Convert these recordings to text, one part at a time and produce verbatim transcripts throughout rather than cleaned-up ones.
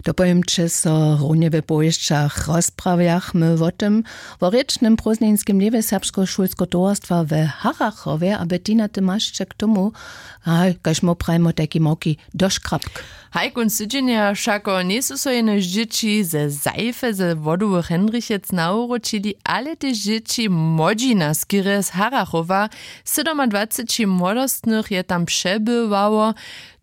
Dopowěmće so runje w powěsćach. Rozprawjachmy wo tym, wo rěčnym prózdninskim dnjewje serbskeho šulskeho towarstwa w Harachowje a Bettina, ty mašće k tomu, haj, kaž my prajimo, tajki małki doškrapk. Haj, kónc tydźenja wšako njejsu so jenož dźěći ze Seife ze Wodowych Hendrichec nawróćili, ale tež dźěći młodźina skerje z Harachowa. Sydomadwaceći młodostnych je tam přebywało.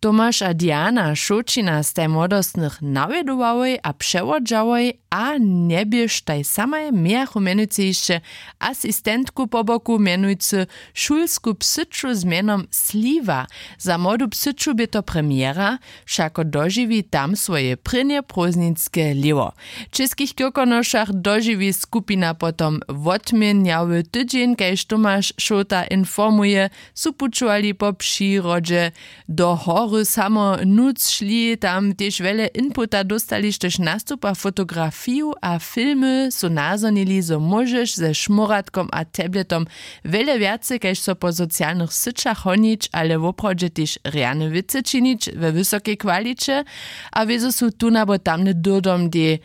Tomaš a Diana Šołćina staj młodostnych nawjedowałoj a přewodźałoj a njeběštaj samaj, mějachu mjenujcy hišće asistentku po boku, mjenujcy šulsku psyću z mjenom Sliwa. Za młodu psyću bě to premjera, wšako dožiwi tam swoje prěnje prózdninske lěhwo. W Českich Kyrkonošach dožiwi skupina potom wotměnjawy tydźeń, kaž Tomaš Šołta informuje, su pućowali po přirodźe, do hory samo nutř šli, tam tež wjele inputa dóstali, štož nastupa fotografiju a filmy su nazhonili, zo móžeš ze šmóratkom a tabletom wjele wjace kaž so po socialnych syćach honić, ale woprawdźe tež rjane wěcy činić we wysokej kwaliće. A wězo su tón abo tamny dyrdom dej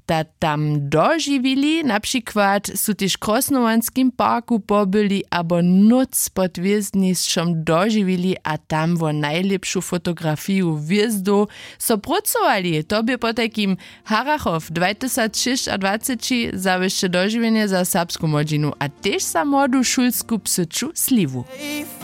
da tam dožiwili. Na přikład su tež w Krosnowanskim parku pobyli abo nóc pod hwězdnišćom dožiwili a tam wo najlěpšu fotografiju hwězdow so prócowali. To bě potajkim Harachow dwatysacšěsćadwaceći, zawěsće dožiwjenje za serbsku młodźinu a tež za młodu šulsku psyću Sliwu.